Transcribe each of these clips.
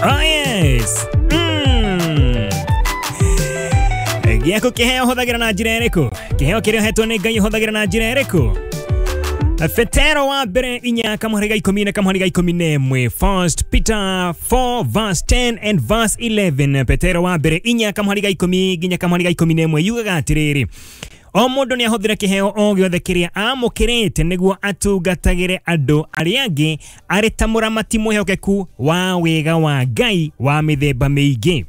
Oh yes. Gĩaku kĩheo ũhũthagĩra na njĩra ĩrĩkũ? Kĩheo kĩrĩa ũhetwo nĩ Ngai ũhũthagĩra na njĩra ĩrĩkũ? Petero wa mbere inya kamũhari ga ikũmi na kamũhari ga ikũmi na ĩmwe. First Peter 4 verse 10 and verse 11. Petero wa mbere inya kamũhari ga ikũmi nginya kamũhari ga ikũmi na ĩmwe yugaga atĩrĩrĩ, o mũndũ nĩ ahũthĩre kĩheo o gĩothe kĩrĩa amũkĩrĩte nĩguo atungatagĩre andũ arĩa angĩ arĩ ta mũramati mwĩhokeku wa wega wa Ngai wa mĩthemba mĩingĩ.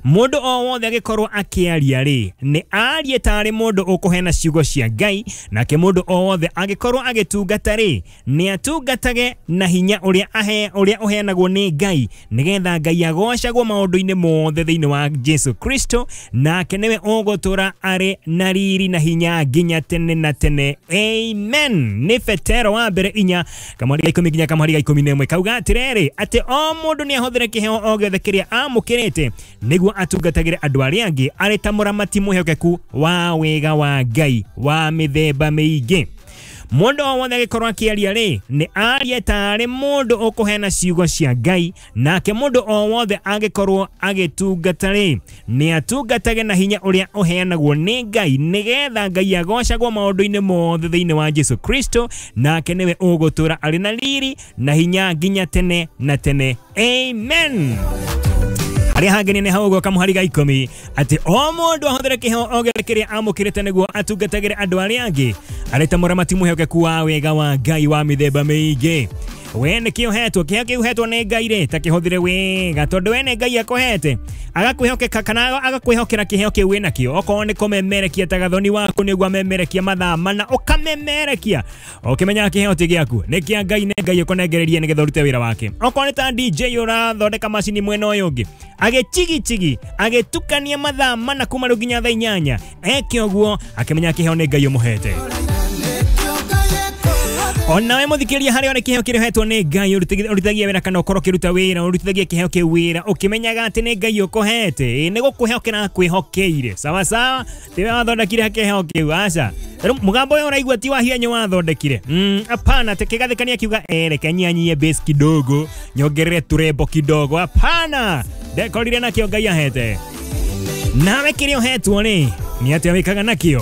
Mũndũ o wothe angĩkorwo akĩaria rĩ, nĩ arie tarĩ mũndũ ũkũheana ciugo cia Ngai, nake mũndũ o wothe angĩkorwo agĩtungata rĩ, nĩ atungatage na hinya ũrĩa ũrĩa ũheanagwo nĩ Ngai, nĩgetha Ngai agocagwo maũndũ-inĩ mothe thĩinĩ wa Jesu Kristo, nake nĩwe ũgũtũra arĩ na riri na hinya nginya tene na tene. Amen. Nĩ Petero wa mbere inya kamũhari ga ikũmi nginya kamũhari ga ikũmi na ĩmwe kauga atĩrĩrĩ, atĩ o mũndũ nĩ ahũthĩre kĩheo o gĩothe kĩrĩa amũkĩrĩte nĩguo atungatagĩre andũ arĩa angĩ arĩ ta mũramati mwĩhokeku wa wega wa Ngai wa mĩthemba mĩingĩ. Mũndũ o wothe angĩkorwo akĩaria rĩ, nĩ arie tarĩ mũndũ ũkũheana ciugo cia Ngai, nake mũndũ o wothe angĩkorwo agĩtungata rĩ, nĩ atungatage na hinya ũrĩa ũheanagwo nĩ Ngai, nĩgetha Ngai agocagwo maũndũ-inĩ mothe thĩinĩ wa Jesu Kristo, nake nĩwe ũgũtũra arĩ na riri na hinya nginya tene na tene. Amen. Harĩa hangenia nĩ hau ũguo kamũhari ga ikũmi, atĩ o mũndũ ahũthĩre kĩheo o gĩothe kĩrĩa amũkĩrĩte nĩguo atungatagĩre andũ arĩa angĩ arĩ ta mũramati mwĩhokeku wa wega wa Ngai wa mĩthemba mĩingĩ. We nĩkĩ ũhetwo? Kĩheo kĩu ũhetwo nĩ Ngai rĩ, ta kĩhũthĩre wega, tondũ we nĩ Ngai akũhete agakwĩhokeka kana agakwĩhokera kĩheo kĩu wĩnakĩo. Okorwo nĩ kũmemerekia ta gathoni waku nĩguo amemerekia mathaa mana, ũkamemerekia ũkĩmenyaga kĩheo ti gĩaku, nĩ kĩa Ngai, nĩ Ngai ũkũnengereria nĩgetha ũrute wĩra wake. Okorwo nĩ ta DJ ũrathondeka macini mwena ũyũ ũngĩ, agĩchigichigi agĩtukania mathaa mana kuma rĩu nginya thaa inyanya, eke ũguo akĩmenyaga kĩheo nĩ Ngai ũmũhete. Onawe mũthikĩrĩria harĩa ũrĩ, kĩheo kĩrĩa ũhetwo nĩ Ngai ũrutithagia wĩra kana ũkorwo ũkĩruta wĩra, ũrutithagia kĩheo kĩu wĩra ũkĩmenyaga atĩ nĩ Ngai ũkũhete, nĩ gũkwĩhokera akwĩhokeire. Sawa sawa, tiwe wathondekire kĩheo kĩu, aca. Rĩu mũgambo ũyũ ũraigua ti wa hianyũ wathondekire. Hapana, atĩ kĩgathĩkania kiuga reke nyanyie bass kidogo, nyongerere turembo kidogo. Hapana, ndekorire nakĩo Ngai ahete. Nawe kĩrĩa ũhetwo rĩ, nĩ atĩa wĩkaga nakĩo?